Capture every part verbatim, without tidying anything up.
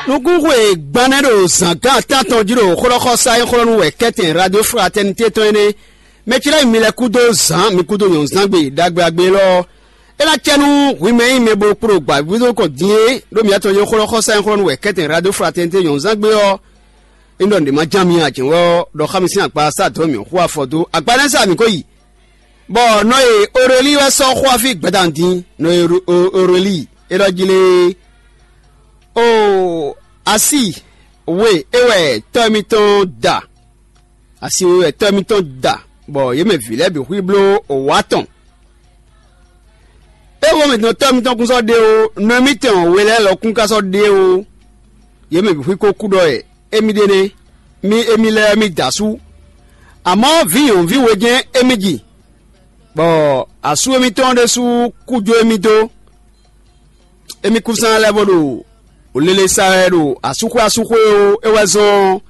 Nukúnxwe gban nɛ́ ɖo zǎngán atán tɔn jí ɖo xlɔ́xɔsá e xlɔ́ nú wɛ kɛ́tɛn Radio Fraternité tɔn é nɛ́. Mɛ ce lɛ́ɛ mi lɛ́ kúdó zǎn, mi kúdó nyɔ̌nzángbe ɖagbe agbe élɔ́ ɔ́, é ná cɛ nú hwi mɛ e nyí mɛ bo kpo ɖo gbǎvíbúdó kɔn din é ɖó mǐ atɔn e xlɔ́xɔsá e xlɔ́ nú wɛ kɛ́tɛn Radio Fraternité nyɔ̌nzángbe ɔ́. É ɖɔ nǔɖé ma ján mi ǎ, jɛ̌n wɛ ɔ́, ɖɔ xá mi sín agba sá dɔ̌n mǐ xú afɔ dó. Agba nɛ́ sa mǐ ko yi, bɔ nɔ e Orelíi wɛ sɔ́ xó afí gbadanu din, nɔ e Orelíi élɔ́ jí lée. Oo, asi we é wɛ tɔ́ mitɔn da, asi we wɛ tɔ́ mitɔn da, bɔ yě mɛ vǐ lɛ́ɛ bǐ xwí bló wǎ tɔn. É wo mǐtɔn tɔ́ mitɔn kún sɔ́ ɖe ó, nɔ mitɔn we lɛ́ɛ lɔ kún ka sɔ́ ɖe ó. Yě mɛ bǐ xwí ko kú ɖɔ wɛ émí ɖe nɛ́, mí émí lɛ́ɛ mí da asú. Amɔ̌ vǐ nyɔ̌nuví we jɛ́n émí ji, bɔ asú émítɔn ɖésú kú jó émí dó. Émí kúnsan lɛ́ɛ bó ɖo lele sa wɛ ɖo asúxwé asúxwé ó. É wɛ zɔ́n ɔ́,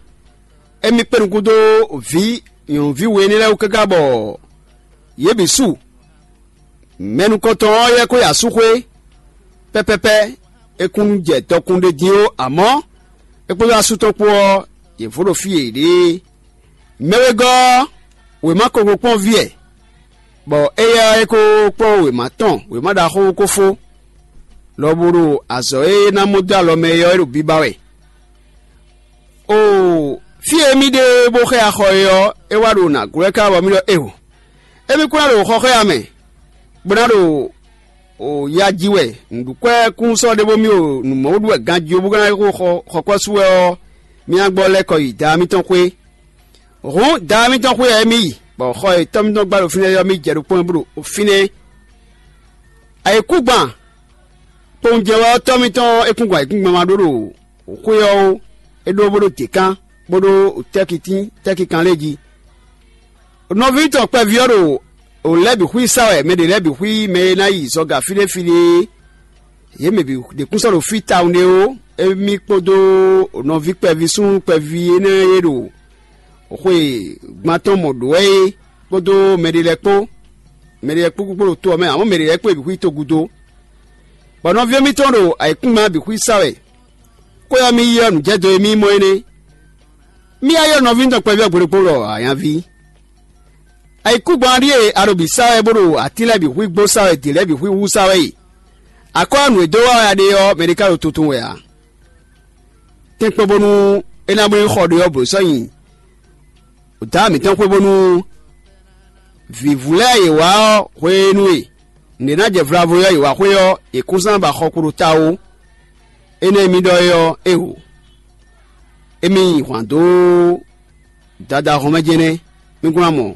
émí kpé nukún dó vǐ nyɔ̌nuví we énɛ́ lɛ́ɛ wú káká bɔ yě bǐ su. Mɛ nukɔntɔn ɔ́ yɛ ko yi asúxwé pɛ́pɛ́pɛ́. É kún jɛ dɔkun ɖé dín ó, amɔ̌ é kpódó asú tɔn kpó ɔ́, yě vo ɖo fí e yě ɖe é. Mɛ wegɔ́ ɔ́, wěma ko ko kpɔ́n vǐ ɛ, bɔ éyɛ́ ɔ́, é ko kpɔ́n wěma tɔn, wěma ɖaxó ko fó, lobo ɖo azɔ̌ e é ná mɔ dó alɔ mɛ é ɔ́, é ɖo biba wɛ. Oo, fí e mì ɖe bó xɛ axɔ é ɔ́, é wá ɖo nǎ glɔ́ ɛ ká bɔ mì ɖɔ éeǒ. Émí kún ná ɖo xɔxɔ́ya mɛ, bó ná ɖo ya ji wɛ nǔɖukwɛ́ kún sɔ́ ɖé bó mì ɖo nǔ mɔ ɖu wɛ ganjí ó, bó ka ná xo xɔkwɛ́ sú wɛ ɔ́, mì ná gbɔ lɛ́ kɔ yi daa mitɔn xwé. Hǔn daa mitɔn xwé ɔ́, émí yi, bɔ xɔ e tɔ́ mitɔn gbá ɖo fínɛ́ ɔ́, mì jɛ ɖokpónɔ bó ɖo fínɛ́. Ayǐkúngban kpowun jɛ wɛ ɔ́, tɔ́ mitɔn é kún gɔn ayǐkúngban ma ɖó ɖo xwé ɔ́ ó, é ɖó bó ɖó děkan, bó ɖó tɛ́kitín tɛ́kikan lɛ́ɛ jí. Nɔví tɔn kpɛví ɔ́ ɖo lɛ̌ bǐ xwí sa wɛ, mɛ ɖě lɛ́ɛ bǐ xwí mɛ e ná yi zɔga fí ɖé fí ɖé é. Yě mɛ bǐ ɖě kún sɔ́ ɖo fí tawun ɖé ó. Émí kpódó nɔví kpɛví súnnu kpɛví énɛ́ e ɖo xwe gban tɔn mɔ ɖǒ wɛ é kpódó mɛɖé lɛ́ɛ kpó. Mɛɖé lɛ́ɛ kpó kpókpó ɖo to ɔ́ mɛ, amɔ̌ mɛɖé lɛ́ɛ kpó bǐ xwí togudo. Bɔ nɔví émítɔn ɖo ayǐkúngban bǐ xwí sa wɛ. Xwé ɔ́ mì yi ɔ́, nǔjɛdo e mì mɔ é nɛ́. Mì yá ylɔ́ nɔví mitɔn kpɛví ɔ́ gbe ɖokpó ɖɔ: Ayanví, ayǐkúngban ɖíe a ɖo bǐ sa wɛ, bó ɖo atín lɛ́ɛ bǐ xwí gbó sa wɛ, dě lɛ́ɛ bǐ xwí wú sa wɛ e. Akɔ́ ɔ́, nǔ e dó wá wɛ a ɖe ɔ́, mɛɖé ka ɖo tuntun wɛ ǎ. Tɛ́nkpɔ́n bónú é ná bló xɔ ɖé ɔ́, blǒ sɔ́ nyi dǎ mǐtɔn xwé bónú vǐvú lɛ́ɛ e wǎ ɔ́ hwenu e nǔɖé ná jɛ vlavo ɔ́, yě wá xwé ɔ́, yě kún zán ba xɔ kpo ɖo ta ó. Énɛ́ e mi ɖɔ é ɔ́, é hu. Émí nyi hwǎn dó Dadá hɔn mɛ jɛ́n nɛ́. Mí kún ná mɔ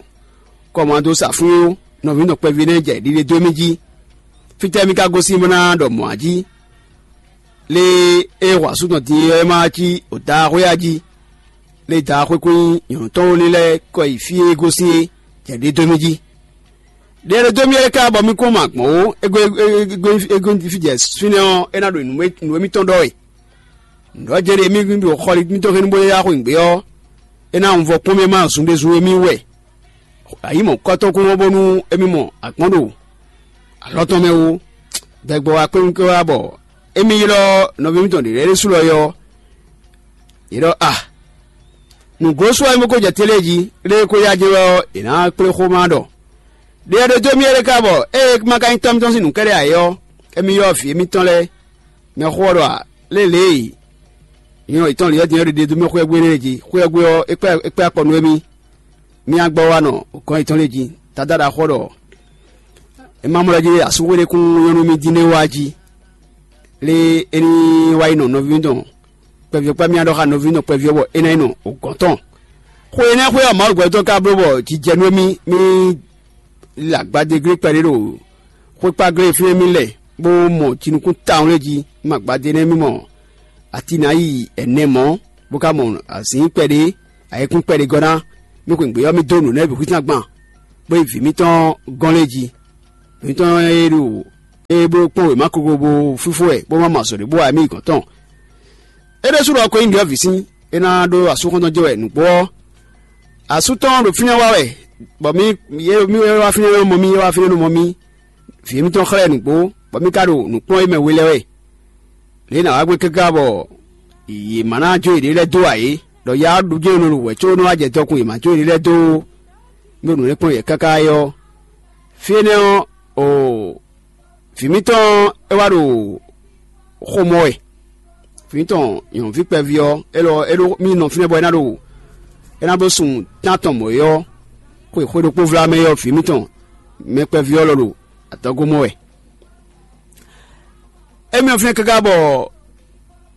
kɔmandó sa fún ó, nɔví nɔ kpɛví nɛ́ jɛ ɖiɖe dó émí jí. Fítɛ́ mí ka gosín bó ná ɖɔ mɔ̌ a jí? Lě e é hu asú tɔn din é ɔ́, é má wá cí o daa xwé a jí? Lě e daa xwé kún nyí nyɔ̌nu tɔn ó lɛ́ɛ kɔ yi fí e é gosín é, jɛ ɖě dó mì jí. Ɖe e ɖo dó mì é ká bɔ mì kún ma gbɔn ó, é gɔ́ é gɔ́ é gɔ́ fí jɛ fínɛ́ ɔ́, é ná ɖo nǔ e nǔ émítɔn ɖɔ wɛ. Nǔ ɔ́ jɛ́n ɖe émí ɖo xɔli mítɔn hɛn bó yá xweyǐgbe ɔ́, é ná wunvɔ kpɔ́n mì ma zun ɖé zun émí wɛ. Ayǐ mɔ̌kɔ́tɔn kún wɔ́ bónú émí mɔ agbɔ̌n ɖo alɔ tɔn mɛ ó. Dɛgbɔ wá kpé nú wá bɔ émí ylɔ́ nɔví mítɔn ɖě lɛ́ɛ ɖésú lɔ yɔ. Yě ɖɔ a, nǔgló sú wɛ mì ko jɛ télé jí, lě e ko yá jɛ wɛ ɔ́, è nǎ kplé xó ma ɖɔ. Ɖe ɛ ɖo dó mì é ɖé ká bɔ ée é ma ka nyí tɔ́ mítɔn sín nǔ kɛ́ɖɛ́ ǎ é ɔ́, émí ylɔ́ vǐ émítɔn lɛ́ɛ. Mɛ xó ɔ́ ɖɔ a, lě lě e nyɔ yětɔn lǐyɔ́ din ɔ́ ɖe ɖe dó mì xwé ɔ́ gbé lɛ́ɛ jí, xwé ɔ́ gbé ɔ́, é kpɛ́ é kpɛ́ akɔ nú émí. Mì nǎ gbɔ wá nɔ gɔ̌n yětɔn lɛ́ɛ jí. Dadá ɖaxó ɔ́ ɖɔ é má mlɔ́ jí asúxwé ɖé kún nyɔ́ nú mì dín ɖé wá jí. Lě é ní wá yi nɔ nɔví tɔn kpɛví ɔ́ kpá mì ɖɔ xá nɔví tɔn kpɛví ɔ́ bɔ é ná yi nɔ gɔ̌n tɔn. Xwe énɛ́ xwé ɔ́, Mawu gbɛtɔ́ ka bló bɔ jijɛ nú émí, mì le agbadéglé kpɛɖé ɖo xwékpáglé e fínɛ́ mì lɛ, bó mɔ jinukún tawun lɛ́ɛ jí. Mì agbadé nɛ́ mì mɔ atín ná yi ɛnɛ mɔ̌, bó ka mɔ azǐn kpɛɖé, ayikún kpɛɖé gɔ́ ná. Mì xweyǐgbe ɔ́, mì dó nǔ nɛ́ bǐ xwísán gban, bó yi vǐ mítɔn gɔ́n lɛ́ɛ jí. Vǐ mítɔn e ɖo e bló kpɔ́n wěma kogo bó fífó wɛ, bó má mɔ azɔ̌ ɖé bó wa mì yi gɔ̌n tɔn. É ɖésú ɖɔ ko nyí nǔɖiɖɔ́vǐ sín, é ná ɖó asú xɔ́ntɔn jɛ wɛ nǔgbó ɔ́. Asú tɔn ɖo fínɛ́ wá wɛ, bɔ mì mì wá fínɛ́ nɔ mɔ mì, é wá fínɛ́ nɔ mɔ mì. Vǐ émítɔn xlɛ́ nǔgbó, bɔ mì ka ɖo nǔ kplɔ́n é mɛ we lɛ́ɛ wɛ. Lě e nǎ wá gbé káká bɔ yě má ná jó yěɖée lɛ́ɛ dó ǎ é, ɖɔ ya ɔ́ ɖu jɛ́n nɔ ɖo wɛ̌ có nɔ wá jɛ dɔkun yě má jó yěɖée lɛ́ɛ dó ó. Mí ɖo nǔ lɛ́ɛ kplɔ́n yě káká é ɔ́, fí énɛ́ ɔ́, o vǐ mítɔn ɔ́, é wá ɖo xó mɔ wɛ. Vǐ mítɔn nyɔ̌nuví kpɛví ɔ́, é lɔ é ɖó mì nɔ fínɛ́ bɔ é ná ɖo é ná bló sun tántɔn mɔ̌ é ɔ́, xwe xwé ɖokpó vlá mɛ é ɔ́, vǐ mítɔn mɛ kpɛví ɔ́ lɔ ɖo adɔgo mɔ wɛ. Émí ɔ́ fínɛ́ káká bɔ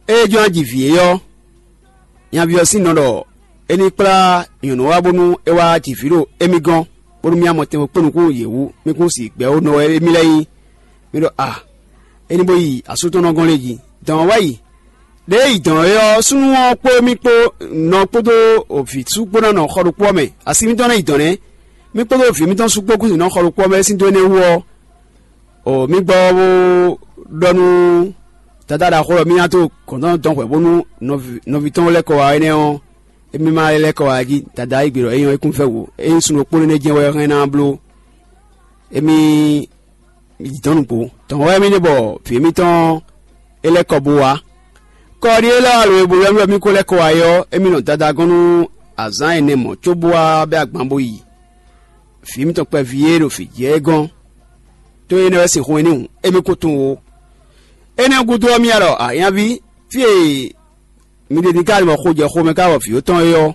é jɔ́n ná ji vǐ é ɔ́, nyaví ɔ́ sín nɔ ɖɔ é ní kplá nyɔ̌nu wá bónú é wá ji vǐ ɖo émí gɔ́n, bónú mì amɔ tɛnmɛ kpó nukún yě wú, mì kún si gbɛ̌ ó nɔ wɛ émí lɛ́ɛ nyí. Mì ɖɔ a, é ní bó yi asú tɔn nɔ gɔ́n lé jí. Dɔn ɔ́ wá yi. Ɖěe yi dɔn é ɔ́, súnnu ɔ́ kpó mì kpó nɔ kpódó vǐ sú kpó ná nɔ xɔ ɖokpó ɔ́ mɛ. Asi mítɔn ná yi dɔn nɛ́. Mì kpódó vǐ mítɔn sú kpó kún nɔ xɔ ɖokpó ɔ́ mɛ sín dó énɛ́ wú ɔ́, o mì gbɔ bó ɖɔ nú Dadá ɖaxó ɔ́, mì ná dó gɔ̌n tɔn dɔn hwɛ̌ bónú nɔví tɔn lɛ́ kɔ wá énɛ́ ɔ́, émí ma lɛ́ kɔ wá jí. Dadá yí gbe ɖɔ é nyɔ́ é kún fɛ́ wǔ. Ényí sun ɖokpó énɛ́ jɛ́n wɛ é hɛn ná bló, émí yi dɔ̌n nǔgbó. Dɔ̌n wɛ émí ɖe bɔ vǐ émítɔn é lɛ́ kɔ bó wá. Kɔ ɔ́ ɖíe lɛ́ wá lo e bo ylɔ́ mì bɔ mì ko lɛ́ kɔ wá é ɔ́, émí nɔ Dadá gɔ́n nú azǎn ɛnɛ mɔ̌ cóbó wá bɛ́ agban bó yi vǐ mitɔn kpɛví e ɖo vǐ jɛ é gɔ́n. Tó énɛ́ wɛ sixú nyí n'i hǔn, émí ko tunwun ó. Énɛ́ gúdo ɔ́, mì ya ɖɔ a nyaví, fí e mi ɖe din ká ɖi bɔ xo jɛ xomɛ ká wɔ vǐ yǒtɔn é ɔ́,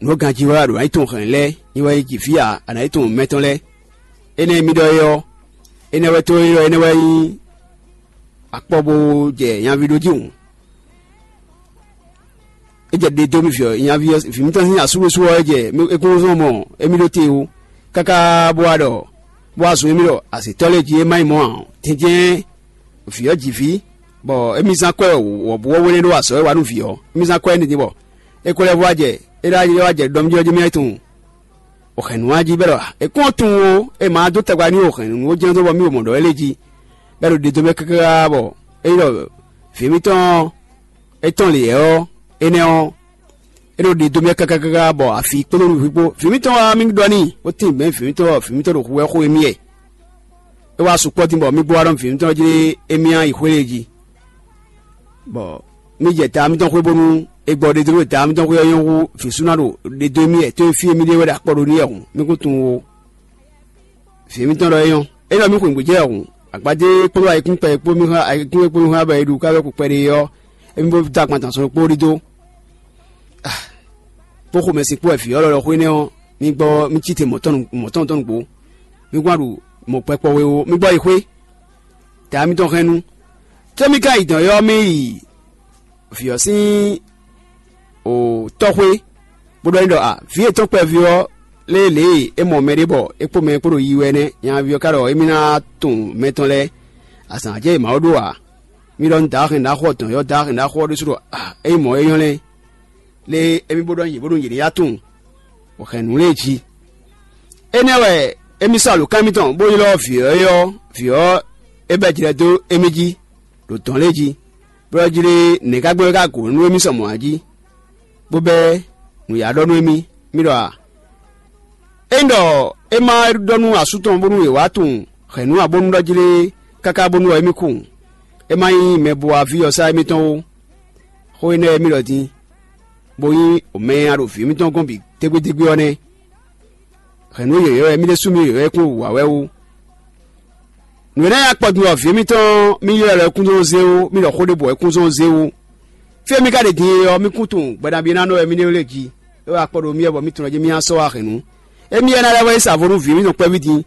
nǔ e ganjí wɛ a ɖǒ ná yi tunwun hɛ̌nnu lɛ́ɛ, nyi wɛ yi ji vǐ ǎ, a nǎ yi tunwun mɛ tɔn lɛ́ɛ. Énɛ́ e mì ɖɔ é ɔ́, énɛ́ wɛ tó é ɖɔ énɛ́ wɛ nyí akpɔ bó jɛ nyaví ɖó jí hǔn. É jɛ ɖe dó mì vǐ ɔ́, nyaví ɔ́, vǐ mitɔn sín asúɖusú ɔ́, é jɛ é kún zɔ́n mɔ émí ɖó te ó, káká bó wá ɖɔ bó wá zun émí ɖɔ azǐtɔ́ lɛ́ɛ jí é má nyí mɔ̌ ǎ ɔ́, tɛ́njɛ́n vǐ ɔ́ ji vǐ, bɔ émí zán kwɛ́ wɔ̌buwɔ́ we nɛ́ ɖó azɔ̌ e wa nú vǐ ɔ́. Émí zán kwɛ́ énɛ́ din bɔ é ko lɛ́ vɔ́ wá jɛ é ɖó wá jɛ ɖɔ mì jí ɔ́ jí mì wá yi tunwun. O hɛ̌nnu wá jí bɛ́ ɖɔ è kún ɔ́ tunwun ó, è ma dó tagba n'i o hɛ̌nnu ó jɛ́n dó bɔ mì wo mɔ̌ ɖɔ é lé jí, bɛ́ ɖo ɖe dó mɛ káká bɔ é nyí ɖɔ vǐ mitɔn ɔ́, é tɔn lě ɔ́, énɛ́ ɔ́, é nɔ ɖe dó mɛ káká káká bɔ afi kpódó nǔví kpó. Vǐ mitɔn wá mì ɖɔ n'i, bó tín mɛ̌ vǐ mitɔn ɔ́, vǐ mitɔn ɖo hu wɛ xo émí wɛ. É wá sukpɔ́ din bɔ mì gbɔ wá ɖɔ vǐ mitɔn ɔ́ jlé émí ná yi xwé lě jí. Bɔ mì jɛ ta mitɔn xwé bónú è gbɔ ɖe dó ɖo ta mitɔn xwé ɔ́ nyɔ́ hú vǐ sú ná ɖo ɖe dó émí wɛ, tó e fí e mì ɖe wɛ ɖo akpɔ ɖó n'i wɛ hǔn, mì kún tunwun ó. Vǐ mitɔn ɖɔ é nyɔ́. É ɖɔ mì xweyǐgbe jɛ hǔn, agbadé kpódó ayikún kpɛ kpó mì xá ayikún e kpó mì xá bɔ è ɖu ká wɛ kpɛɖé ɔ́, émí bó dó agban tɔn sɔn kpó ɖidó. Bó xomɛ sin kpó wɛ vǐ ɔ́ lɔ xwé nɛ́ ɔ́, mì gbɔ mì cí te mɔ̌ tɔn tɔn nǔgbó. Mì gbɔn ɖu mɔ̌ kpɛkpɔ we ó, mì gbɔ yi xwé. Tɛ mitɔn hɛn nu. Có mì ka yi dɔ̌n ɔ́, mì yi vǐ ɔ́ sín tɔ́xwé, bó ɖɔ n'i ɖɔ a, vǐ yětɔn kpɛví ɔ́ lé lě e é mɔ mɛɖé bɔ é kpó mɛ kpó ɖo yi wɛ nɛ́. Nyaví ɔ́ ka ɖɔ émí ná tunwun mɛ tɔn lɛ́ɛ, azǎn jɛ e Mawu ɖó ǎ. Mi ɖɔ nú Daá hɛn ɖaxó ɔ́ dɔn yɔ́ Daá hɛn ɖaxó ɔ́ ɖésú ɖɔ a, ényí mɔ̌ é nyɔ́ lɛ́ɛ, lé émí bó ɖɔ nyi yě bónú yě ní yá tunwun, bɔ hɛn nǔ lě jí. Énɛ́ wɛ émí sɔ́ alǒkan mitɔn bó ylɔ́ vǐ ɔ́ é ɔ́, vǐ ɔ́ é bɛ́ jlɛ dó émí jí ɖo dɔ̌n lě jí, bó ɖɔ jlé nɛ̌ ka gbɔn é ka gǒ nú émí sɔ mɔ̌ ǎ jí, bó bɛ́ nǔyá ɖɔ nú émí. Mì ɖɔ a? Ényí ɖɔ é ma ɖɔ nú asú tɔn bónú è wǎ tunwun hɛ̌nnu ǎ bónú ɖɔ jlé káká bónú ɔ́ émí kú hǔn, é ma nyí mɛ bo wá ví ɔ́ sá émítɔn ó. Xó énɛ́ wɛ mì ɖɔ din, bó nyí mɛ e a ɖo vǐ mitɔn gɔ́n bǐ dégbédégbé ɔ́ nɛ́. Hɛ̌nnu yɔ̌yɔ́ wɛ mì ɖésú mì yɔ̌yɔ́ kún wǎ wɛ ó. Nǔ énɛ́ nyí akpɔdun wɛ vǐ mitɔn mì ylɔ́ lɛ́ kún zɔn zé ó, mì ɖɔ xó ɖěbǔ wɛ kún zɔn zé ó. Fí e mì ka ɖe din e ɔ́, mì kún tunwun gbɛɖabi e ná nɔ wɛ mì ɖe lé jí. É wɛ akpɔ ɖo mì wɛ bɔ mì tunwun jí mì ná sɔ́ wá hɛ̌nnu. Émí wɛ ná lɛ́ wá yi sa vo nú vǐ mitɔn kpɛ́ví din.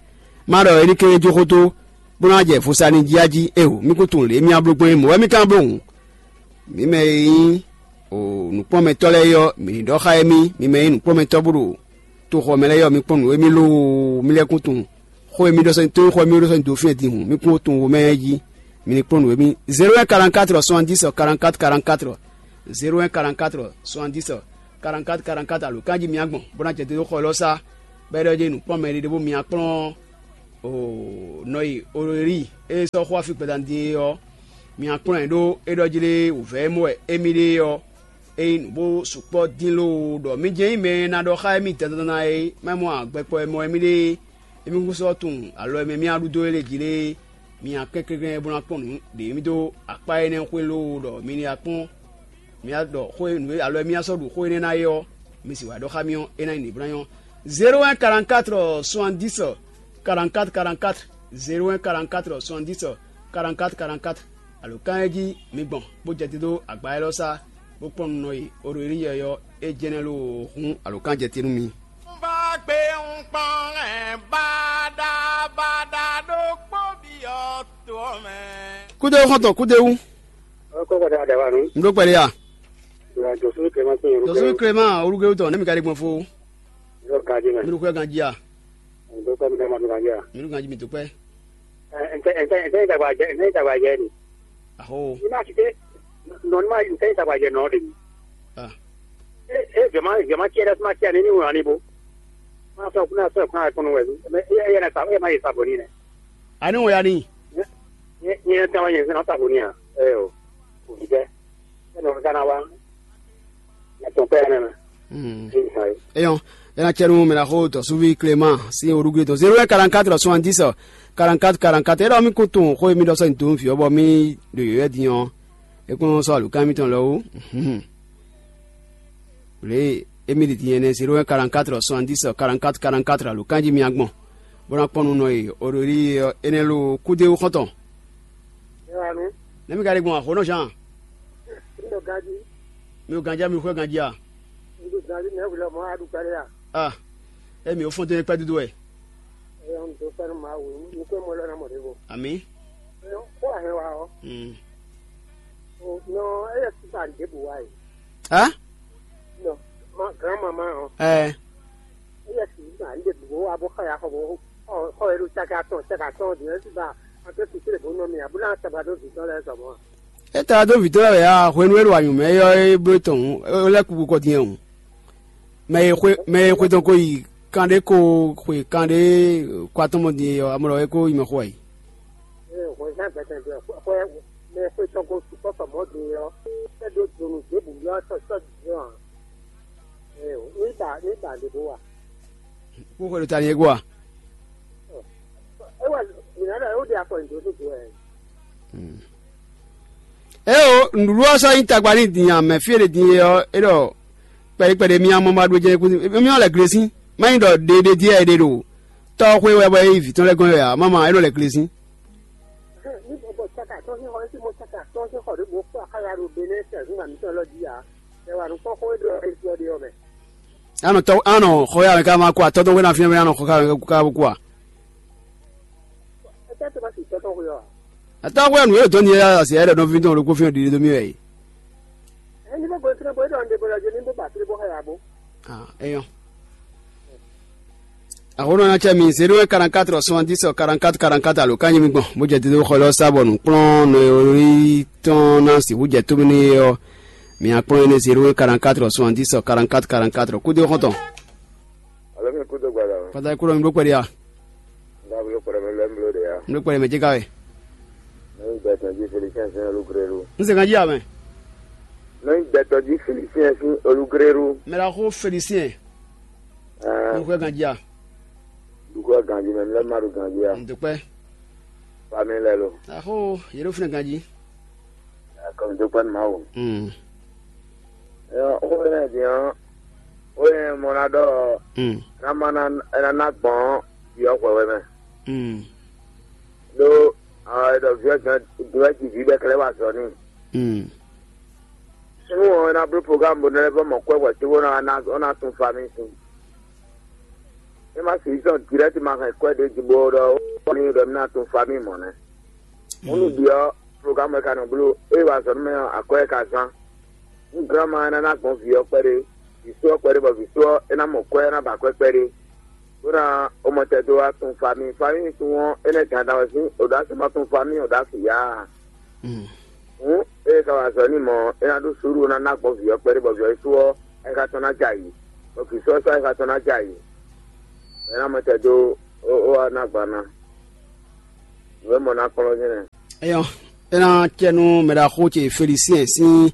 Má ɖɔ é ní kɛ́n jó xó dó, bó ná jɛ vo sa n'i jí á jí. Éeǒ, mì kún tunwun lě e mì ná bló gbɔn é mɔ̌ wɛ mì ka ná bló hǔn. Mǐ mɛ e nyí nǔkplɔ́nmɛtɔ́ lɛ́ɛ é ɔ́, mǐ ní ɖɔ xá émí, mi mɛ e nyí nǔkplɔ́nmɛtɔ́ bó ɖo toxɔ mɛ lɛ́ɛ é ɔ́, mi kpɔ́n nǔ émí lóoo, mi lɛ́ kún tunwun xó e mì ɖɔ sɔ́ nyi tónúxɔ e mì ɖɔ sɔ́ nyi dǒfín din hǔn, mi kún tunwun womɛ jí, mi ní kplɔ́n nǔ émí. Zéro un quarante-quatre soixante-dix quarante-quatre quarante-quatre, zéro un quarante-quatre soixante-dix quarante-quatre quarante-quatre alo kan jí mi gbɔn bó ná jɛ dó xɔ élɔ́ sá, bɔ é ɖɔ jí nǔkplɔ́nmɛ ɖé ɖé bó mi kplɔ́n nɔ e Ololíi e sɔ́ xó afi gbadanu din é ɔ́, mi kplɔ́n ɛ ɖó é ɖɔ jí lé wǔvɛ́ e mɔ wɛ émí ɖe é ɔ́, é nyí nǔ bó sukpɔ́ dín lóo ɖɔ mì jɛ́n nyí mɛ e ná ɖɔ xá émí dandan é, má mɔ agbɛkpɔ e mɔ wɛ mì ɖe é, émí kún sɔ́ tunwun alɔ e mɛ mì ɖu dó é lě jí lé é, mi kɛnklɛ́n bó ná kpɔ́n nǔ ɖě mì dó akpá énɛ́ xwé lóo ɖɔ mi ní wá kpɔ́n Mi wá ɖɔ xó e nǔ e alɔ e mì wá sɔ́ ɖu xó énɛ́ ná é ɔ́, mi sì wá ɖɔ xá mì ɔ́, é ná nyí nǔɖiɖɔ́nyɔ́. Zéro un quarante-quatre soixante-dix quarante-quatre quarante-quatre, zéro un quarante-quatre soixante-dix quarante-quatre quarante-quatre. Alǒkan e jí mi gbɔn bó jɛ te dó agba élɔ́ sá, bó kpɔ́n nunɔ e Oɖoyílíyɛ ɔ́, é jɛ́n nɛ́ lóo hún alǒkan jɛ te nú mi. Kúdéwú xɔ́ntɔn, kúdéwú. Ɔkɔ kɔdɛ adaba nu. Un ɖó kpɛɖé ya. Jɔsúlú Clément tún yɛn. Jɔsúlú Clément, olúgbéwú tɔn, ne mi ka ɖe gbɔn fó. Yɔ ganji mɛ. Mi ɖo xwɛ ganji ya. Ndo kɔ mi dama do ganji ya. Mi ɖo ganji mi do kpɛ. Ntɛ ntɛ ntɛ dagba jɛ ntɛ dagba jɛ ni. Aho. Ni ma kite. Non ma ntɛ dagba jɛ nɔ de. Ah. E e jama jama tiɛ dɛ ma tiɛ ni ni wani bo. Ma sɔ kuna sɔ kuna kunu wɛ. Mais e e na sa e ma yi sa boni ne. Ani wɔ ya ni. Ni ni ta wa yɛn na sa boni ya. Eh o. Ko bi dɛ. E no kana wa. Atɔn pɛ ne. Mm. Eyɔn, ena cɛnu mɛ na xo tɔ suvi Clément si orugre tɔn zéro un quarante-quatre soixante-dix quarante-quatre quarante-quatre. Ena mi ko tun xo mi dɔ sɔ nyi dun fi bɔ mi do yɔ din ɔ. E kún sɔ alukan mi tɔn lɔ wo. Mhm. Le emi di din ene zéro un quarante-quatre soixante-dix quarante-quatre quarante-quatre alukan ji mi agbɔn. Bó ná kpɔn nú nɔ e o ɖo ɖi ene lo kúdé xɔntɔn. Ewanu. Ne mi ka ɖe gbɔn axo nɔ Jean. Ndo gaji. Mi o ganjá mi xwé ganjí a? Ndo gaji ne wulɔ mɔ aɖu kpɛɖe a? Ah. E mi o fɔn tɛnɛ kpɛ dudu wɛ. Eyɔn do fɛn ma wu. Nukwe mɔ lɔ na mɔ ɖe bo. Ami. Eyɔn ko ahɛ wa ɔ. Mm. O nɔ eyɛ sisan ɖebu wa yi. Hã? Nɔ ma grand maman ɔ. Ɛ. Eyɛ sisan ɖebu wa bo xɔ ya xɔ bo xɔ xɔ elu caka tɔn caka tɔn di esi ba. Ake sisi le bo nɔ mi abula taba do vi tɔn lɛ sɔmɔ. E ta dó vǐ tɔn lɛ́ɛ wɛ a hwenu e ɖo anyǔmɛ é ɔ́ é bló tɔn hǔn, é lɛ́ kúkú kɔ din ɔ́ hǔn. Mɛ e xwe mɛ e xwe tɔn ko yi kanɖé ko xwe kanɖé kɔ atɔ́ mɔ din é ɔ́, amɔ lɔ é ko yi mɛ xo wɛ yi. Ee, hwɛzán gbɛtɛn ɖo xwɛ mɛ xwe tɔn ko sukpɔ́ sɔ mɔ̌ din ɔ́, é ɖó donu ɖěbǔ ylɔ́ sɔ́ sɔ́ din ɔ́ ǎ. Ee, ní ba ní ba ɖě bó wa. Kú xwe ɖo ta ni é gbɔ a? É wà mǐ ná ɖɔ é wó ɖe afɔ nyi dǒ dó dǒ wɛ. Eo, nǔɖuɖu ɔ́ sɔ́ nyí tagba n'i din a? Mɛ fí e ɖe din e ɔ́, é ɖɔ kpɛɖé kpɛɖé mì amɔ ma ɖu jɛ kú mì lɛ glesín. Má nyí ɖɔ ɖe ɖe díɛ è ɖe ɖo tɔ́ xwé wɛ bɔ é yi vǐ tɔn lɛ́ɛ gɔ́n wɛ ǎ, má ma é nɔ lɛ glesín. Ní bɔbɔ caka tɔn sín xɔ é sí mɔ caka tɔn sín xɔ ɖěbǔ kpó axáya ɖo Benɛ́ tɛ́ntin mǐtɔn lɔ jí ǎ. Ɛ wa nǔ kpɔ́n xó e ɖɔ é ɖɔ ɖe ɔ́ mɛ. Anɔ tɔ anɔ xɔ ya mɛ ká ma kó atɔ tɔn wé na fín mɛ anɔ xɔ ká ká kó a? Atɔ xwe nǔ yóò dɔn nyɛ asi ɛɖɛ nɔvi tɔn ɖokpó fín ɖiɖi dó mì wɛ yi. Ɛni bó gbɛn fínɛ bó é ɖɔ un ɖe bó lɔ jɛ ní bó ba fínɛ bó xɛ ya bó. Ah, eyɔn. Axɔnɔ na cɛ mi zéro un quarante-quatre soixante-dix quarante-quatre quarante-quatre alo kanyi mi gbɔn bó jɛ dídó xɔ lɔ sa bɔ nǔkplɔ́n nɔ e tɔn ná sixú jɛ tómi n'i é ɔ́, mi akplɔ́n énɛ́ zéro un quarante-quatre soixante-dix quarante-quatre quarante-quatre kúdé xɔ́ntɔn. Alo mi kúdó gbada o. Pata kúrò mi bó kpɛɖé ya. Nga bolo kpɛɖɛ mi lɛ mi bolo de ya. Mi bó kpɛɖɛ mɛ jɛ ká wɛ. Nɔ yi gbɛtɔ ji Félicien sin olugrélu. N sɛgɛn ji amɛ. Nɔ yi gbɛtɔ ji Félicien sin olugrélu. Mɛ la xo Félicien. Ɛɛ. Mi xwɛ ganji a? Dukɔ ganji mɛ mi lɛ ma ɖo ganji a? N dukpɛ. Famille lɛ lo. Axo yɛ ɖo fúnɛ ganji. Akɔnidokpɔ́ nú Mawu. Mm. Ɔ, xó énɛ́ din ɔ́, xó énɛ́ mɔ ná ɖɔ Mm. ná má ná ná ná gbɔn vǐ ɔ́ hwɛhwɛ mɛ. Mm. Ɖó ɔ, è ɖɔ vǐ ɔ́ din ɔ́, din ɔ́ ji vǐ bɔ è ka lɛ́ wa azɔ̌ n'i. Mm. Nú ɔ, é ná bló programme bó ná lɛ́ vɔ́ mɔ kwɛ́ hwɛ̌ cóbó ná ná ɔ́ ná tún famille sín. É má sixú zɔn dirɛ́ktiman hɛn kwɛ́ ɖě jí bó ɖɔ ó ní ɖɔ mì ná tún famille mɔ̌ nɛ́. Mɔ̌ nú ɖi ɔ́, programme wɛ ka nɔ bló, ée wa azɔ̌ nú mɛ ɔ́, akwɛ́ wɛ ka zán. Nú granma ɔ́ ná ná gbɔn vǐ ɔ́ kpɛɖé, vǐ sú ɔ́ kpɛɖé, bɔ vǐ sú ɔ́, é ná mɔ kwɛ́, é ná ba akwɛ́ kpɛɖé, bó ná ó mɔ tɛn dó wá tún famille. Famille tún ɔ́, énɛ́ gǎn dan wɛ sín, ò ɖó así ma tún famille, ò ɖó así yá a? Hǔn, ée ka wa azɔ̌ n'i mɔ̌, é ná ɖó suúlu, ná ná gbɔn vǐ ɔ́ kpɛɖé, bɔ vǐ ɔ́ yi sú ɔ́, ayixa tɔn ná jɛ ayǐ, bɔ vǐ sú ɔ́ sín ayixa tɔn ná jɛ ayǐ, bɔ é ná mɔ tɛn dó ó wá ná gban ná. Nǔ e mɔ ná kplɔ́n nyɛ nɛ́. Eyɔn, é ná cɛ nú mɛ ɖaxó ce Félicien sín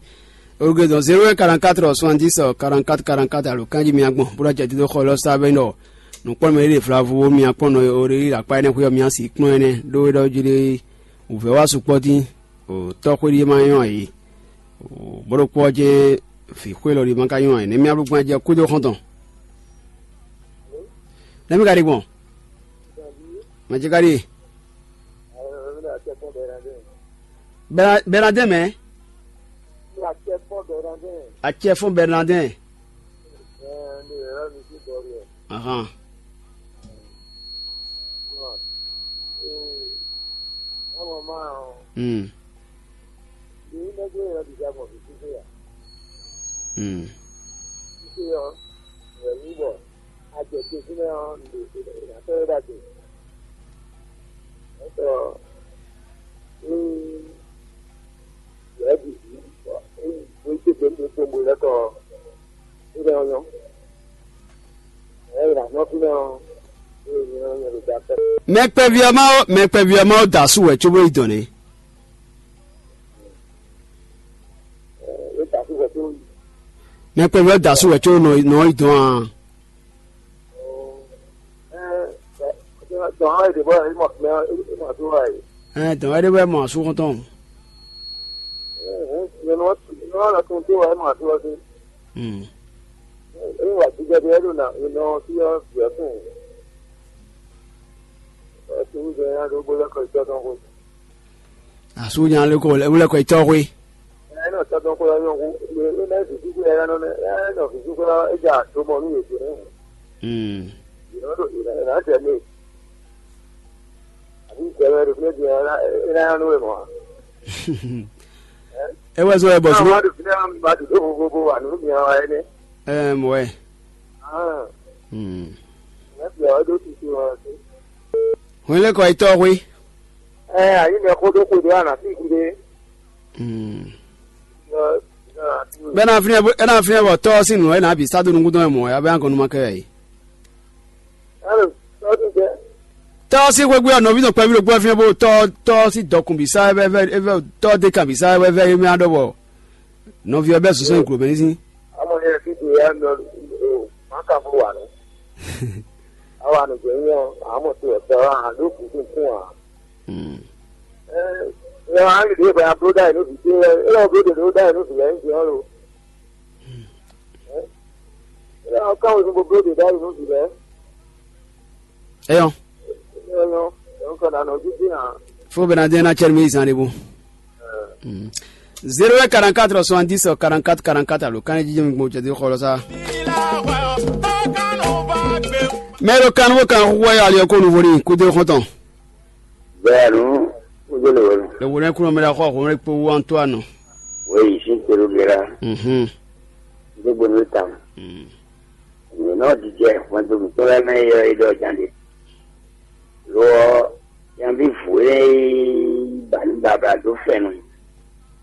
olugredɔn zéro un quarante-quatre soixante-dix quarante-quatre quarante-quatre alo kanjí mi agbɔn bó ná jɛ dídó xɔ lɔ sá bɛ nɔ nǔkpɔ́nmɛ ɖé ɖe vlavo mi akpɔ́n nɔ o ɖe ɖe akpá énɛ́ xwé ɔ́ mi asi kplɔ́n énɛ́ ɖó é ɖɔ jí ɖé wǔvɛ́ wá sukpɔ́ dín o tɔ́ xwé ɖíe ma nyɔ́ ǎ é. Bó ɖokpó ɔ́ jɛ́n vǐ xwé lɔ ɖi ma ka nyɔ́ ǎ, nɛ̌ mì ablúgbɔ́n jɛ kúdó xɔ́ntɔn? Nɛ̌ mì ka ɖi gbɔn? Mɛ ce ka ɖi? Bɛnadɛn mɛ? Acɛfɔ́n Bɛnadɛn. Ahan. Mm. Mm. Mɛ kpɛví ɔ́ má ó, mɛ kpɛví ɔ́ má ó da asú wɛ cóbó yi dɔn nɛ́. Mɛ kpɛví ɔ́ da asú wɛ có nɔ nɔ yi dɔn a? Ɛɛ, dɔn wɛ ɖé wɛ mɔ asú xɔntɔn. Asú nya lé kɔ wlɛkɔ yi tɔ́ xwé. É wɛ zɔ́n wɛ bɔ zɔ́n. Ɛɛ mɔ wɛ. Hwɛn lé kɔ yi tɔ́ xwé. Ɛ ayi mɛ xó ɖó xwe ɖé ana sí xwe ɖé. Bɛ na fínɛ bɛ na fínɛ bɔ tɔ́ sín nǔ ɛ na bǐ sá dó nukún tɔn mɛ mɔ̌ ya bɛ na gɔn numa kɛ wɛ yi. Tɔ́ sín xwé gbé ɔ́ nɔví tɔn kpɛví ɖokpó ɛ fínɛ bó tɔ́ tɔ́ sín dɔkun bǐ sá ɛ vɛ ɛ vɛ tɔ́ dé kan bǐ sá ɛ vɛ ɛ mɛ adɔ bɔ nɔví ɔ́ bɛ zɔn sɔn nyi glo mɛ ní sín. Amɔ yɛ fí ɖe ya nɔ o má ka fó wà nù. Awa nù jẹ́ yín ɔ àmọ̀ tó ẹ̀ tọ́ a ló kù kún kún à. Ẹ ẹ á lè dé bẹ́ẹ̀ abló dá yìí ló fi dé ẹ ẹ lọ́wọ́ bló dè ló dá yìí ló fi lẹ́yìn jẹ́ ọ́ lo. Ẹ ẹ káwọn ìfúnpọ̀ bló dè dá yìí ló fi lẹ́. Eyɔn. Ẹ ẹ yọ ẹ ń kọ́ nà nọ jíjí hàn. Fo bena den na cɛri mi zan de bo. Zéro un quarante-quatre soixante-dix quarante-quatre quarante-quatre alo kan ji jɛmi gbɔ jɛdi xɔlɔ sa. Mɛ ɖo kan wo kan xɔ ya le ko nu vori kudo xɔtɔn. Bɛnu kudo le wori. Le wori ko mɛ da xɔ xɔ mɛ ko wu Antoine. Oui, si tero gera. Mhm. Kudo gbonu tam. Mm. Nɔ dijɛ xɔnto mǐtɔn lɛ́ɛ mɛ yɔ é ɖɔ jan ɖe. Lo ɔ́, nyaví vǔ e ba nǔ babla dó fɛ́nnu,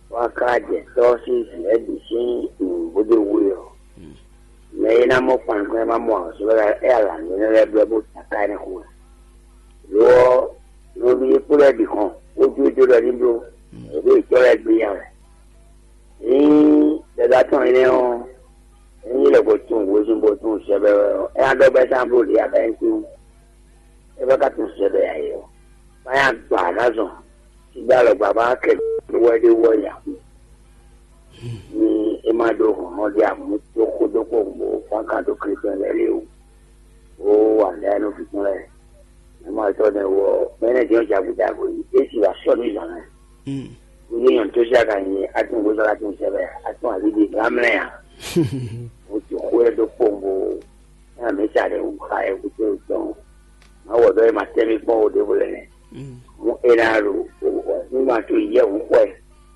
bó wá ka jɛ tɔ́ sín vǐ lɛ́ɛ bǐ sín nǔ bó dó wu é ɔ́, mɛ e ná mɔ kpankpɛn ma mɔ ǎ, sɔ́ é alǎ nú énɛ́ lɛ́ɛ blɛ́ bó ta ká énɛ́ xo wɛ. Lo ɔ́, nɔví e kpo lɛ́ɛ bǐ hɔn, bó jó é dó ɖɔ ní bló, è ɖó yětɔn lɛ́ɛ gbé nya wɛ. Ní dada tɔn énɛ́ ɔ́, ényí lɛ ko tunwun hwezun bó tunwun sɛbɛ wɛ ɔ́, é ná ɖɔ bɔ é ná bló ɖě abɛ́ntin. É bá ka tunwun sɛbɛ ǎ é ɔ́, bá nya gbɔ aɖázɔn sígbá alɔgba bá kɛ wɛ ɖé wɔ ya. Ní é má ɖó hlɔ̌nhlɔ́n ɖé amú tó xó dó kpowun bó fɔ́n kan dó Klísu lɛ́ɛ lé o. Ó wǎ lɛ́ɛ nú fífún lɛ́ɛ. Mɛ ma tɔ́ nɛ wɔ mɛ nɛ jɛ́n jagun jagun yi. É sì wá sɔ́ nú zǎn mɛ. Wíwí nyɔ̌nu tó sí aga nyi atún gbósɔ́ atún sɛbɛ atún àbí di gán mlɛ́ ǎ. Mo ti xwé ɖó kpowun bó. Nya mi sa ɖe wú xa ɛ wú tó tɔn. Má wɔ ɖɔ é ma tɛ́ mì kpɔ́n o ɖěvo lɛ nɛ. Mú é ná ɖo ní ma tó yɛ wú xwɛ.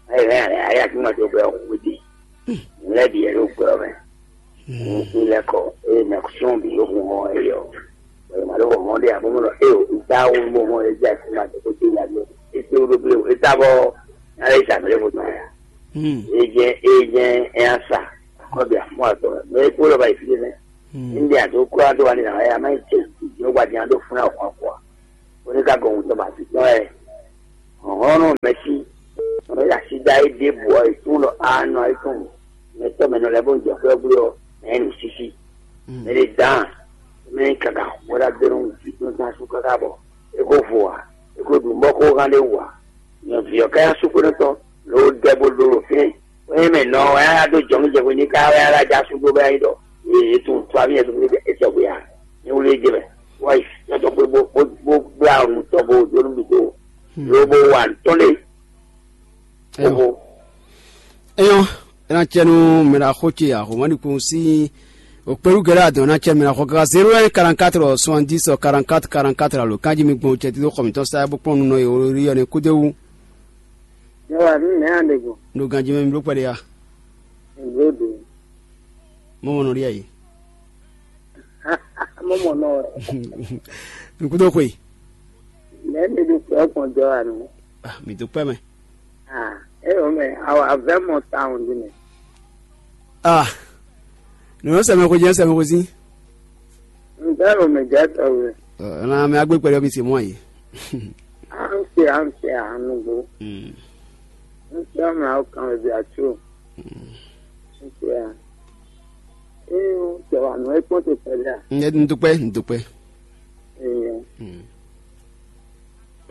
Ayɛ hɛn ayɛ ayé àti má tó gbɛ wú di. Lɛ bi yɛ ɖo gbɛ mɛ. Ní lɛ kɔ eye mɛ sɔn bi yóò hun hɔn eye ɔ. Bɔn ma ɖo hɔn ɖe abo mɔ eye o da wo mo hɔn eye jẹ ma ɖe ko te ya ɖe. Ete wo ɖo ble o eta bɔ na le sa mele ko tɔn ya. Eye jẹ eye jẹ eya sa kɔ bi afɔ atɔ mɛ ekpo lɔ ba yi fi ɖe nɛ. Ndi ato kura do wa ni na ya ma yi tse yóò gba di na do fún na o kɔ akɔ. Oníkàgọ̀ ohun tó bá ti tán ɛ. Ɔ̀hɔ́nú mɛsí, mɛ yà sí dá é ɖěbǔ ɔ́, è tún ɖɔ á nɔ ayé tɔn mɛ tɔ́ mɛ nɔ lɛ́ bó ń jɛ xwé ɔ́ gblé ɔ́, mɛ é nǔ sísí. Mɛ ɖé dán, mɛ é kaka xwé ɖá gbé nú vǐ tɔn tán sú káká bɔ é kó vo ǎ, é kó ɖu mɔ̌ kó hán ɖé wú ǎ. Nyɔ̌ví ɔ́ ká yá sú xwé nú tɔn, lǒ dɛ bó ɖó ɖo fínɛ́. Ée mɛ nɔ wɛ á ɖó jɔ̌nu jɛ hwe ní ká wɛ á ɖo ajá sú ɖó bɛ é ɖɔ. Ee, é tunwun tɔ́ amì ɛ́ ɖó é sɔgbe ǎ. Ní wlí é jɛ mɛ. Wá yi, yɔ tɔ́ bó bó bó bó blá nǔ tɔ́ bó dó nú mì dó. Ló bó wa nǔ tɔn lé. Bó bó. Eyɔn, ena cɛ nu mɛ ɖo axo ce axɔmɔɖikun sín okpéɖu gɛlɛ adɔn ena cɛ mɛ ɖo axɔ kaka zéro un quarante-quatre soixante-dix quarante-quatre quarante-quatre alo kanji mi gbɔn cɛ tito xɔ mitɔn sa bó kpɔn nunɔ ye wolo ri yɔ ne kúdéwu. Yɔ wa mi mɛ an ɖe go. Ɖo ganji mɛ mi ɖo kpɛɖe ya. Ɖo ɖo. Mɔ mɔ nɔ ɖi ayi. Mɔ mɔ nɔ. Nukúdó xwe. Lɛ mi ɖo kpɛ kpɔn jɔ wa nù. Ah, mi do kpɛ mɛ. Ah, e o mɛ, awa vɛ mɔ tawun di mɛ. Ah, nunu sɛmɛ ko jɛ sɛmɛ ko si. N bɛ o mɛ jɛ tɔ wɛ. Ɛnna mɛ agbe kpɛɖɛ mi se mɔ yi. An se an se anugbo. Mm. N se mɛ awo kan wɛ bi atso. Mm. N se a. Ee, o tɛ wa nɔ e kpɔn te pɛlɛ a. N do kpɛ, n do kpɛ. Ee. Mm.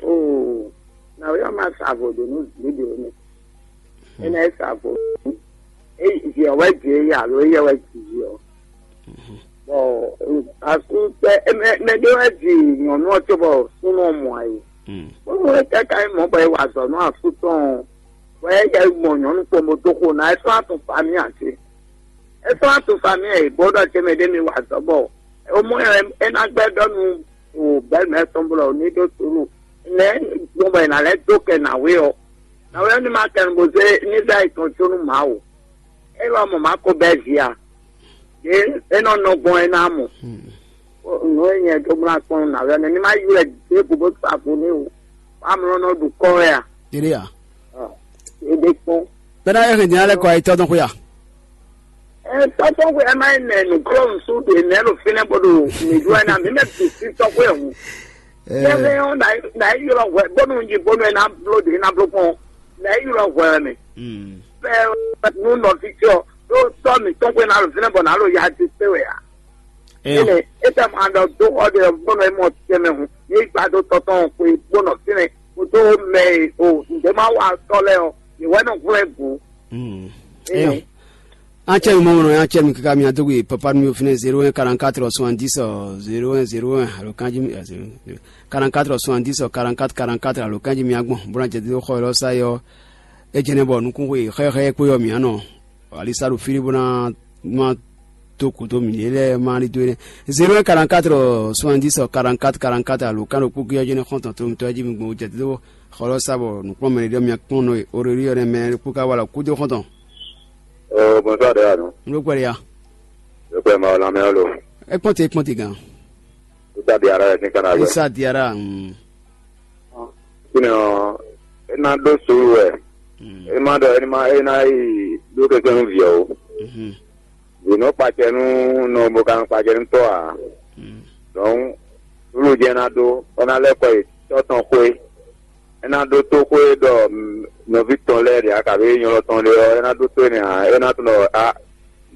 Oo, na wɛ ma sa vo do nu nu do ne. Ena e sa vo. E yi ɔ wɛ dzi e yi alo e yɛ wɛ dzi yi ɔ. Bɔ asu tɛ mɛ mɛ ɖé wɛ dzi nyɔnu ɔ tso bɔ súnú ɔ mɔ ayi. Kpókpó e kaka yi mɔ bɔ e wa azɔ nú asu tɔn ɔ, bɔ e yɛ mɔ nyɔnu kpɔn bó dó xo ná e sɔ́ atun fa mì ǎ cé? E sɔ́ atun fa mì ɛ bó ɖɔ ce mɛ ɖé mi wa azɔ bɔ o mɔ ɛ e ná gbɛ ɖɔ nú o bɛ́ mɛ tɔn blɔ ní ɖó sulu nɛ gbɔn bɔ è nǎ lɛ́ dó kɛ nǎwe ɔ́. Nǎwe ɔ́ ní ma kɛ nu bó zé ní zá yi tɔn có nú Mawu. É wá mɔ Mawu ko bɛ́ vǐ a? Yě é nɔ nɔ gbɔn é ná mɔ. Nǔ e nyɛ dó mlá kpɔ́n nǎwe ɔ́ nɛ́ ní má ylɔ́ ɛ ɖěbǔ bó sa vo n'i o. Amlɔ nɔ ɖu kɔ́ wɛ a? Eré a? Ɔ, é ɖé kpɔ́n. Bɛ́ ná é hɛn din alɛ kɔ ayitɔ́ tɔn xwé a? Ɛ tɔ́tɔ́ xwé ɛ má yi nɛ nǔklɔ́ ŋsu ɖe nɛ̌ ɖo fínɛ́ bó ɖo mǐ ɖu ɛ ná mǐ mɛ bǐ sí tɔ́ xwé hǔn. Yɛhɛn ɔ́, nǎ yi ylɔ́ hwɛ bónú un yi bónú é ná bló ɖě ná bló kpɔ́n, nǎ yi ylɔ́ hwɛ wɛ mɛ. Bɛ́ nú nɔví ce ɔ́, ɖó tɔ́ mǐtɔn xwé ná ɖo fínɛ́ bɔ nǎ ɖo ya ce kpé wɛ ǎ. Énɛ́ é tɛ ma ɖɔ dó xɔ ɖe ɔ́ bónú é mɔ tɛnmɛ hǔn, ní yi gba dó tɔ́tɔn xwé bó nɔ fínɛ́, kó dó mɛ e o nǔɖé má wa tɔ́ lɛ́ɛ ɔ́, yě wɛ nɔ hwlɛ́n gǔ. Énɛ́. An cɛ mi mɔ mɔnɔ an cɛ mi kaka mi adógbe papa mi finɛ zéro un quarante-quatre soixante-dix zéro un zéro un alo kanji mi quarante-quatre soixante-dix quarante-quatre quarante-quatre alo kanji mi agbɔn bó ná jɛ dó xɔ yɔrɔ sa yɔ. É jɛ nɛ bɔ nukún xwe xɛxɛ kpó yɔ mi anɔ alisa ɖo fili bó ná ma tó kòtó mi lé lɛ ma li dó é nɛ zéro un quarante-quatre soixante-dix quarante-quatre quarante-quatre alo kan ɖo kpókí yɔ jɛ nɛ xɔntɔn tó mi tɔ́ jí mi gbɔn jɛ dó xɔ yɔrɔ sa bɔ nukplɔ́n mɛ ɖé mi akpɔn nɔ oreli yɔ nɛ mɛ kpó ká wala kúdó xɔntɔn. Ɔ bɔnsɔn de ya nɔ. N ló kpɛɖe ya. Ló kpɛ ma ɔlá mɛ ɔlò. Ekpɔn te ekpɔn te gan. Isa diara yɛ sin kana wɛ. Isa diara. Mm. Sinɔ ena ɖó sulu wɛ. Mm. Ema ɖɔ ena ena yi ɖó kɛkɛ nu viɛ o. Mhm. Vǐ nɔ kpacɛ nú nɔ bo ka nɔ kpacɛ nú tɔ́ ǎ. Mm. Donc sulu jɛ ná ɖó bɔ ná lɛ́ kɔ yi tɔ́ tɔn xwé. É ná ɖótó xó e ɖɔ nɔví tɔn lɛ́ɛ ɖe ǎ, kabi nylɔ́ tɔn ɖe ɔ́, é ná ɖótó énɛ́ ǎ. É ná tunɔ ɖɔ a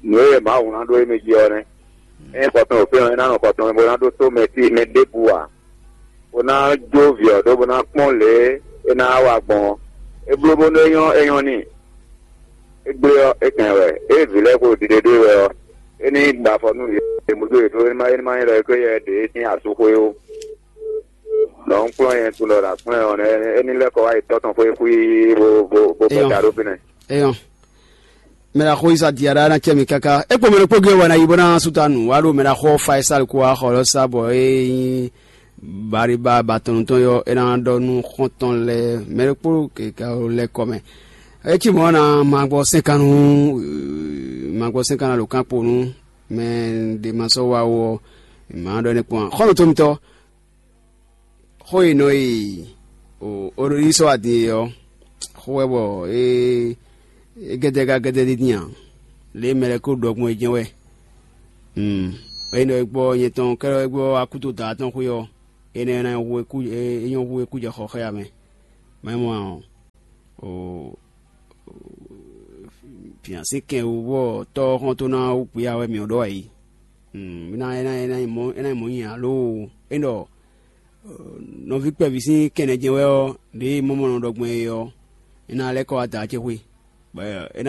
nǔ e Mawu ná ɖó émí jí ɔ́ nɛ́. Ényí xɔ tɔn ɖo fí ɔ́, é ná nɔ xɔ tɔn mɛ bó ná ɖótó mɛ tí mɛ ɖěbǔ ǎ, bó ná jó vǐ ɔ́ ɖó bó ná kpɔ́n lě e é ná wa gbɔn ɔ́. É bló bónú é nyɔ́ é nyɔ́ n'i. É gblé ɔ́, é kɛn wɛ. Ée vǐ lɛ́ɛ xo ɖiɖe ɖó e wɛ ɔ́, é ní gba afɔ nú yě, yě mú dó yě ɖó é ní má é ní má nyí ɖɔ é kó yɛ ɖě sín asúxwé ó. Nɔ un kplɔ́n nyɛ tunɔ ɖo aklúnɛ ɔ́ nɛ́, é ní lɛ́ kɔ wá yi tɔ́ tɔn xwé xwíí bó bó bó bɛ́ ta ɖó fínɛ́. Eyɔn. Mɛ ɖaxó Isa Diara ná cɛ mì káká. É kpo mɛ ɖokpó gé wɛ ná yi bó ná sú ta nǔ wá ɖo mɛ ɖaxó Faisal kó wá xɔ lɔ sá bɔ é nyí Bariba batɔnu tɔn yɔ é ná ɖɔ nú xɔ́ntɔn lɛ́ɛ mɛ ɖokpó keka lɛ́ kɔ mɛ. É cí mɔ̌ ná ma gbɔ sɛ́nkan nú ma gbɔ sɛ́nkan ná ɖo kán kpo nú mɛ ɖě ma sɔ́ wá ó ɔ́, mǎ ɖɔ énɛ́ kpɔ́n ǎ. Xɔ́ntɔn mitɔ́, xó e nɔ e o Ololísɔ adin e ɔ́, xó wɛ bɔ é é gɛ́dɛ́ gá gɛ́dɛ́ ɖé din ǎ. Lě e mɛ lɛ́ɛ ko ɖɔ gbɔn é jɛ́n wɛ. Ée nɔ e gbɔ nyɛ tɔn kɛ́ɖɛ́ gbɔ akúto da tɔn xwé ɔ́, énɛ́ ná nyɔ́ hu e kú é nyɔ́ hu e kú jɛ xɔ xá ya mɛ. Mɛ mɔ ɔ́, o fiǎnsi kɛn wú bɔ tɔ́ ɔ́ xɔ́ntɔn ná wú kpǐ ya wɛ mǐ ɔ́ ɖɔ wɛ yí. É ná é ná é ná nyí mɔ̌ é ná nyí mɔ̌ nyi ǎ loo. É ɖɔ nɔví kpɛví sín kɛnɛ jɛ́n wɛ ɔ́, ɖěe mɔmɔ nɔ ɖɔ gbɔn é ɔ́, é ná lɛ́ kɔ wá da acéxwé, bɔ é ná